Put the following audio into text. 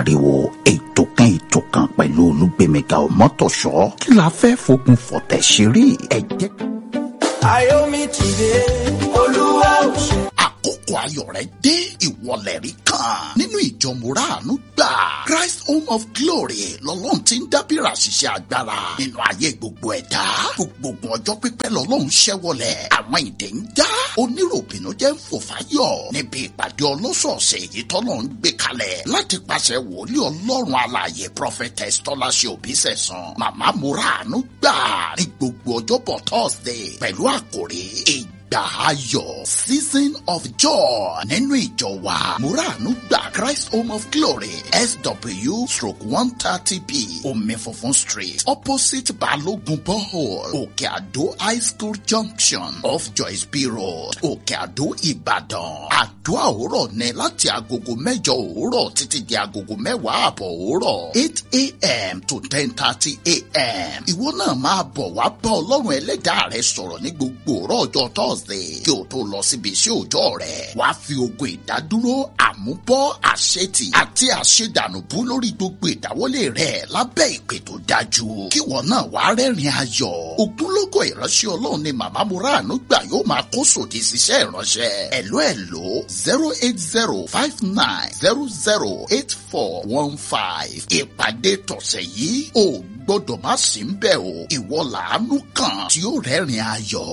Ariwo ètò kan ètò kan pẹ̀lú Olúgbémiga Ọmọ́tọ̀ṣọ́. Kí la fẹ́ fogun fọ̀tẹ̀ ṣeré? Ẹ jẹ́ Ayọ̀mí ti dé, Olúwa ò ṣe. Àkókò ayọ̀ rẹ̀ dé, ìwọlẹ̀ rí kan nínú ìjọ Mùràánú gbà, Christ Home of Glory, lọ́lọ́run ti ń dábìrà ṣiṣẹ́ agbára nínú ayé gbogbo ẹ̀dá. Gbogbo ọjọ́ pípẹ́ lọ́lọ́run ṣẹ́wọlẹ̀, àwọn ìdè ń já, oníròbìnú jẹ́ ń fò fáyọ̀ níbi ìpàdé ọlọ́sọ̀ọ̀sẹ̀ èyí tọ́lọ́run gbé kalẹ̀ láti pàṣẹ wòlíì Ọlọ́run alààyè, Prophetess Tọ́láṣẹ Òbísẹ̀sán, Màmá Mùràánú gbà, ní gbogbo ọjọ́bọ̀ Thursday pẹ̀lú àkòrí ìgbà ayọ̀, season of joy, nínú ìjọ wa Mùràánú gbà, Christ Home of Glory, SW/130B, Omi Funfun Street, opposite Balogun Borehole, Òkè Àdó High School Junction, off Joyce B Road, Òkè Àdó, Ìbàdàn. Àdúrà òwúrọ̀ ní láti agogo 8 òwúrọ̀ títí di agogo 10:30 òwúrọ̀, 8 a.m. to 10:30 a.m. Ìwọ náà máa bọ̀ wá bá Ọlọ́run ẹlẹ́dàá rẹ sọ̀rọ̀ ní gbogbo òwúrọ̀ ọjọ́ Thursday kí o tó lọ síbi iṣẹ́ òòjọ́ rẹ̀. Wàá fi ogun ìdádúró, àmúbọ́, àṣetì àti àṣedànù bú lórí gbogbo ìdáwọ́lé rẹ̀ lábẹ́ ìpè tó dájú. Kíwọ náà wàá rẹ́rìn ayọ̀. Ogunlọ́gọ̀ ìránṣẹ́ Ọlọ́run ni Màmá Mùràánú gbà yóò máa kó sòdì síṣẹ́ ìránṣẹ́. Ẹ̀ló ẹ̀ló, 08059008415. Ìpàdé tọ̀sẹ̀ yìí ò gbọ́dọ̀ má sí ń bẹ̀ o. Ìwọ làánú kan tí ó rẹ́rìn ayọ̀.